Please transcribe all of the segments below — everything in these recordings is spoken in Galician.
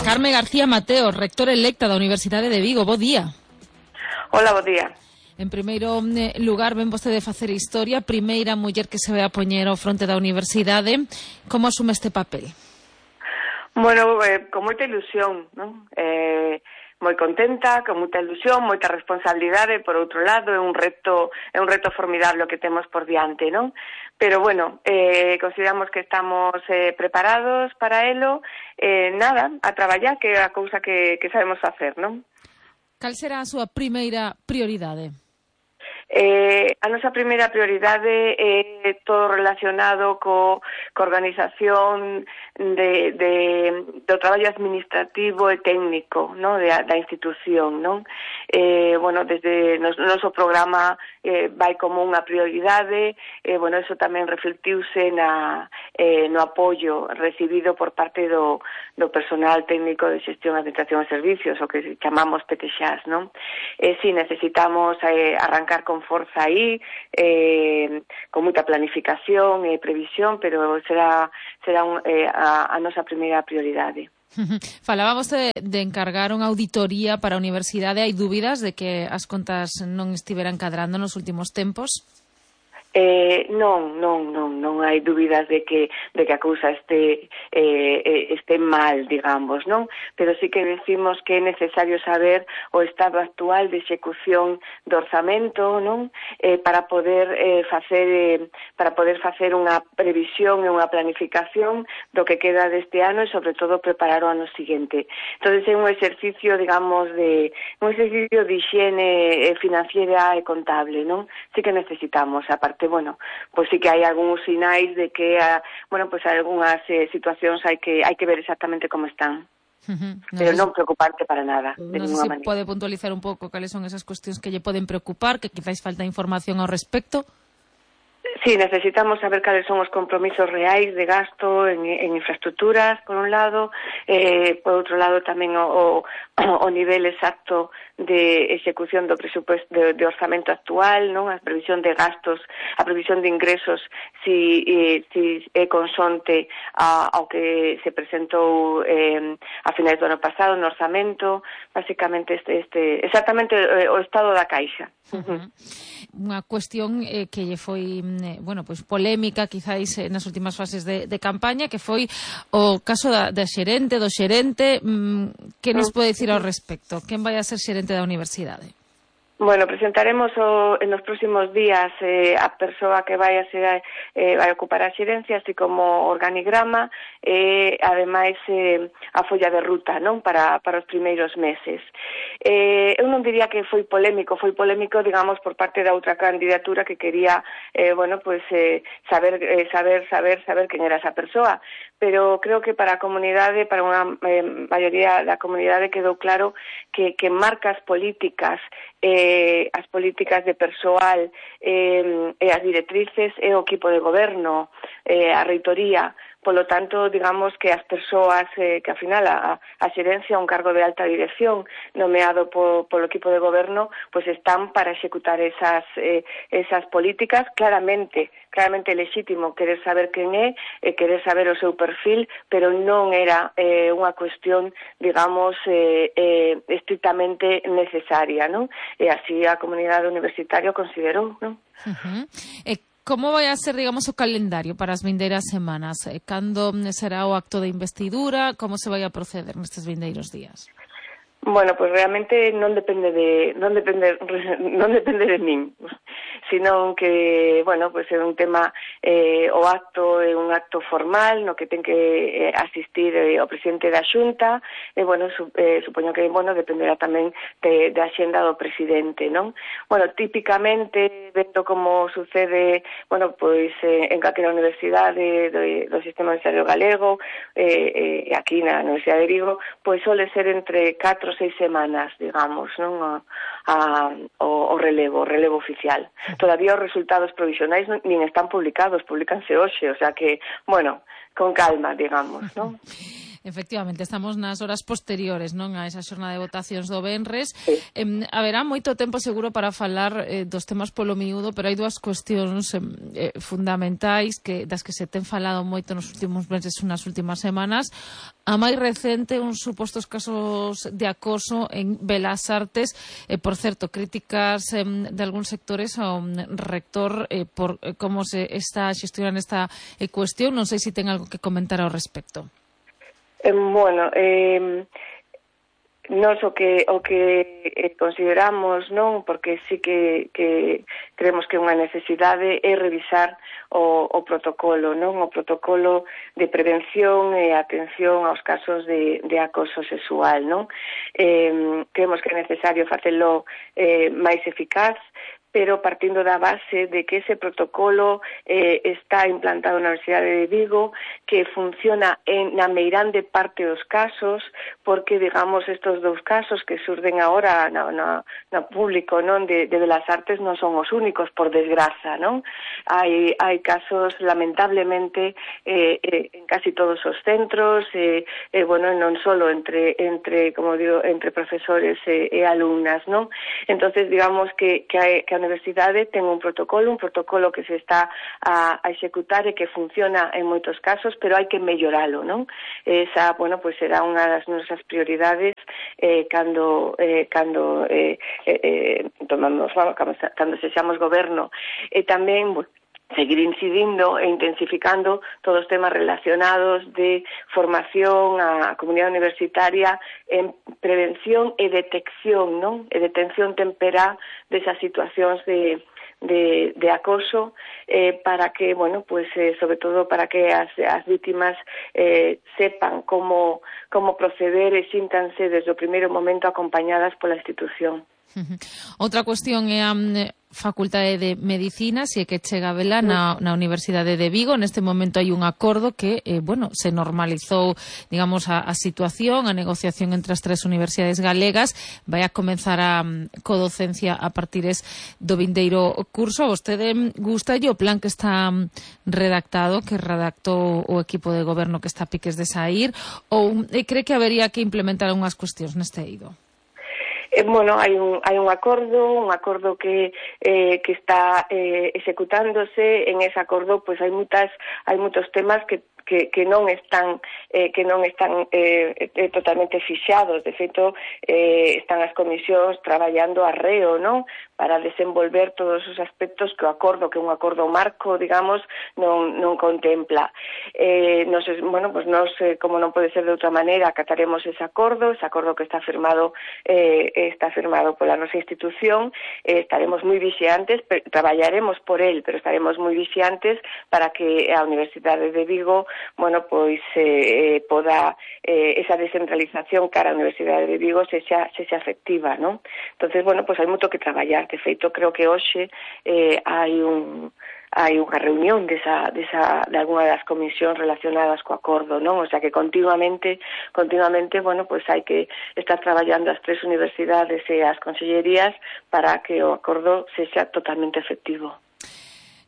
Carme García Mateo, rectora electa da Universidade de Vigo. Bo día. Hola, bo día. En primeiro lugar, ven vostede facer historia, primeira muller que se ve a poñer ao fronte da universidade. Como asume este papel? Bueno, con moita ilusión, non? Moi contenta, con moita ilusión, moita responsabilidade, por outro lado, é un reto formidable o que temos por diante, non? Pero bueno, consideramos que estamos preparados para elo, nada, a traballar, que é a cousa que sabemos facer, non? Cal será a súa primeira prioridade? A nosa primeira prioridade é todo relacionado co organización do traballo administrativo e técnico, non, da institución, non? Bueno, desde o noso programa vai como unha prioridade, bueno, eso tamén reflectiuse no apoio recibido por parte do personal técnico de xestión, administración e servicios, o que chamamos PTXAS, non? Si necesitamos arrancar con forza aí, con moita planificación e previsión, pero será a nosa primeira prioridade. Falábamos de encargar unha auditoría para a universidade. Hai dúbidas de que as contas non estiveran cadrando nos últimos tempos? Non hai dúbidas de que a cousa este mal, digamos, non? Pero sí que decimos que é necesario saber o estado actual de execución do orzamento, non? Para poder facer unha previsión e unha planificación do que queda deste ano e sobre todo preparar o ano seguinte. Entonces é un exercicio, digamos, de higiene financiera e contable, non? Sí que necesitamos, aparte, bueno, pues sí que hai algúns sinais de que, bueno, pues algunhas situacións hai que ver exactamente como están. Pero non preocuparte para nada, de ninguna manera. Pode puntualizar un pouco cales son esas cuestións que lle poden preocupar, que quizáis falta información ao respecto? Sí, necesitamos saber cales son os compromisos reais de gasto en infraestructuras, por un lado, por outro lado tamén o nivel exacto de execución do presupuesto de orzamento actual, non? A previsión de gastos, a previsión de ingresos, si é consonte ao que se presentou a finais do ano pasado no orzamento, basicamente exactamente o estado da caixa. Unha cuestión que lle foi pues polémica quizáis nas últimas fases de campaña, que foi o caso do xerente. Que nos pode dicir ao respecto? Quen vai a ser xerente da universidade? Bueno, presentaremos en los próximos días a persoa que vai a ocupar a xerencia, así como organigrama, ademais a folla de ruta, non, para os primeiros meses. Eu non diría que foi polémico, digamos, por parte da outra candidatura que quería, saber quen era esa persoa, pero creo que para a comunidade, para unha maioría da comunidade quedou claro que marca as políticas de persoal e as directrices e o equipo de goberno, a reitoría. Polo tanto, digamos que as persoas que, ao final, a xerencia, un cargo de alta dirección nomeado polo equipo de goberno, pues están para executar esas políticas. Claramente lexítimo querer saber quen é, querer saber o seu perfil, pero non era unha cuestión, digamos, estrictamente necesaria, non? E así a comunidade universitaria considerou, non? Como vai a ser, digamos, o calendario para as vindeiras semanas? Cando será o acto de investidura? Como se vai a proceder nestes vindeiros días? Bueno, pues realmente non depende de min, sino que, bueno, pues é un tema, o acto é un acto formal no que ten que asistir o presidente da Xunta, e, bueno, supoño que, bueno, dependerá tamén da axenda do presidente, non? Bueno, típicamente, vendo como sucede, bueno, pois en calquera universidade do sistema universitario galego, aquí na Universidade de Vigo, pois sole ser entre 4 ou 6 semanas, digamos, non, o relevo oficial. Todavía os resultados provisionais nin están publicados, publicanse hoxe, o sea que, bueno, con calma, digamos, non? Efectivamente, estamos nas horas posteriores, non, a esa xornada de votacións do venres. Sí. Haberá moito tempo seguro para falar dos temas polo miúdo, pero hai dúas cuestións fundamentais das que se ten falado moito nos últimos meses, nas últimas semanas. A máis recente, uns supostos casos de acoso en Belas Artes, por certo, críticas de algúns sectores ao rector por como se está xestionando esta cuestión. Non sei se ten algo que comentar ao respecto. Bueno, nós o que consideramos, non, porque sí que creemos que unha necesidade é revisar o protocolo, non, o protocolo de prevención e atención aos casos de acoso sexual, non. Creemos que é necesario facelo máis eficaz, pero partindo da base de que ese protocolo está implantado na Universidade de Vigo, que funciona na meirande parte dos casos, porque, digamos, estos dous casos que surden agora no público, non, de Belas Artes non son os únicos, por desgraza, non? Hai casos, lamentablemente, en casi todos os centros, bueno, non solo entre como digo, entre profesores e alumnas, non? Entonces, digamos que a universidade ten un protocolo que se está a executar e que funciona en moitos casos, pero hai que melloralo, non? Esa, bueno, pues será unha das nosas prioridades cando sexamos goberno. E tamén, bueno, seguir incidindo e intensificando todos os temas relacionados de formación á comunidade universitaria en prevención e detección, non? E detención temperá desas situacións de acoso, para que, bueno, pues sobre todo para que as vítimas sepan como proceder e síntanse desde o primeiro momento acompañadas pola institución. Outra cuestión é a Facultade de Medicina, se é que chega a vela na Universidade de Vigo. Neste momento hai un acordo que, bueno, se normalizou, digamos, a situación, a negociación entre as tres universidades galegas. Vai a comenzar a codocencia a partires do vindeiro curso. A vostede gustalle o plan que está redactado, que redactou o equipo de goberno que está a piques de saír, ou cree que habería que implementar algunhas cuestións neste eido? Bueno, hai un acordo que está executándose. En ese acordo, pues hai moitos temas que non están totalmente fixados. De feito, están as comisións traballando arreo, non, para desenvolver todos os aspectos que o acordo, que un acordo marco, digamos, non contempla. Bueno, pues nos, como non pode ser de outra maneira, acataremos ese acordo que está firmado pola nosa institución. Estaremos moi vixiantes, traballaremos por el, pero estaremos moi vixiantes para que a Universidade de Vigo, bueno, pois poda esa descentralización cara á Universidade de Vigo sexa efectiva, non? Entonces, bueno, pois hai moito que traballar. De feito, creo que hoxe hai unha reunión de alguna das comisións relacionadas co acordo, non? O sea que continuamente, bueno, pois hai que estar traballando as tres universidades e as consellerías para que o acordo sexa totalmente efectivo.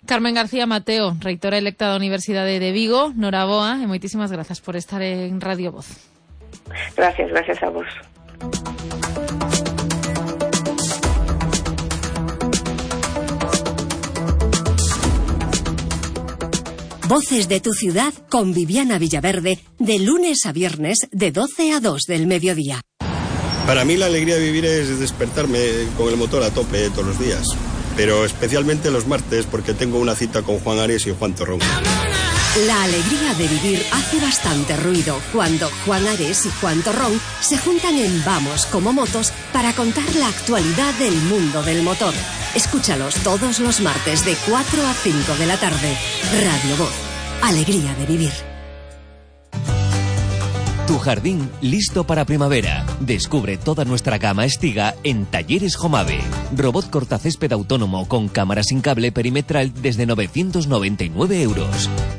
Carmen García Mateo, reitora electa da Universidade de Vigo, noraboa e moitísimas grazas por estar en Radio Voz. Gracias a vos. Voces de tu ciudad con Viviana Villaverde, de lunes a viernes de 12 a 2 del mediodía. Para mí la alegría de vivir es despertarme con el motor a tope todos los días, pero especialmente los martes porque tengo una cita con Juan Ares y Juan Torrón. La alegría de vivir hace bastante ruido cuando Juan Ares y Juan Torrón se juntan en Vamos como Motos para contar la actualidad del mundo del motor. Escúchalos todos los martes de 4 a 5 de la tarde. Radio Voz. Alegría de vivir. Tu jardín listo para primavera. Descubre toda nuestra gama Estiga en Talleres Jomave. Robot cortacésped autónomo con cámara sin cable perimetral desde 999 €.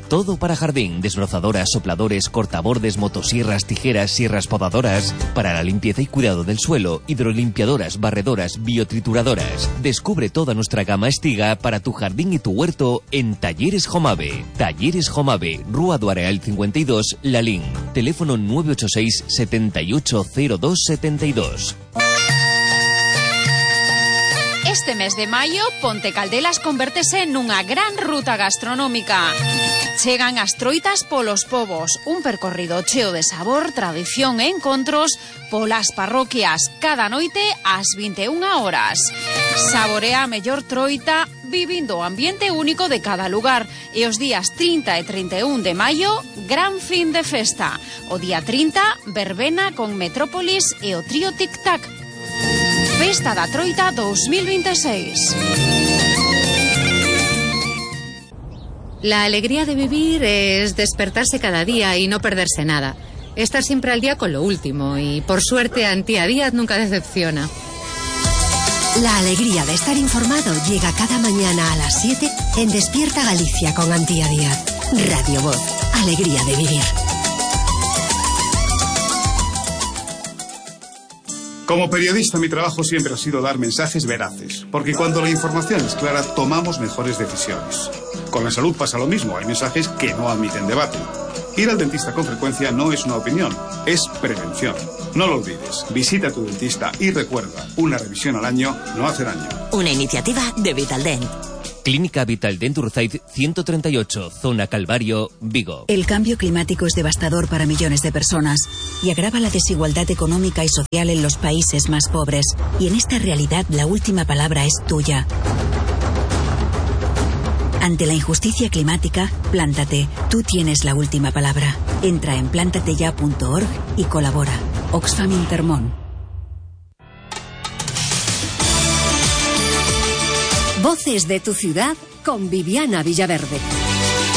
todo para jardín, desbrozadoras, sopladores, cortabordes, motosierras, tijeras, sierras podadoras, para la limpieza y cuidado del suelo, hidrolimpiadoras, barredoras, biotrituradoras. Descubre toda nuestra gama Estiga para tu jardín y tu huerto en Talleres Jomave. Talleres Jomave, Rúa do Areal 52, Lalín. Teléfono 986 780272. Este mes de maio, Ponte Caldelas convértese nunha gran ruta gastronómica. Chegan as troitas polos povos, un percorrido cheo de sabor, tradición e encontros polas parroquias, cada noite ás 21 horas. Saborea a mellor troita vivindo o ambiente único de cada lugar. E os días 30 e 31 de maio, gran fin de festa. O día 30, verbena con Metrópolis e o trío Tic Tac. Festa da Troita 2026. La alegría de vivir es despertarse cada día y no perderse nada. Estar siempre al día con lo último y, por suerte, Antía Díaz nunca decepciona. La alegría de estar informado llega cada mañana a las 7 en Despierta Galicia con Antía Díaz. Radio Voz. Alegría de vivir. Como periodista, mi trabajo siempre ha sido dar mensajes veraces, porque cuando la información es clara, tomamos mejores decisiones. Con la salud pasa lo mismo, hay mensajes que no admiten debate. Ir al dentista con frecuencia no es una opinión, es prevención. No lo olvides, visita a tu dentista y recuerda, una revisión al año no hace daño. Una iniciativa de Vitaldent. Clínica Vitaldent Urzaid 138, Zona Calvario, Vigo. El cambio climático es devastador para millones de personas y agrava la desigualdad económica y social en los países más pobres. Y en esta realidad la última palabra es tuya. Ante la injusticia climática, plántate. Tú tienes la última palabra. Entra en plantateya.org y colabora. Oxfam Intermón. Voces de tu ciudad con Viviana Villaverde.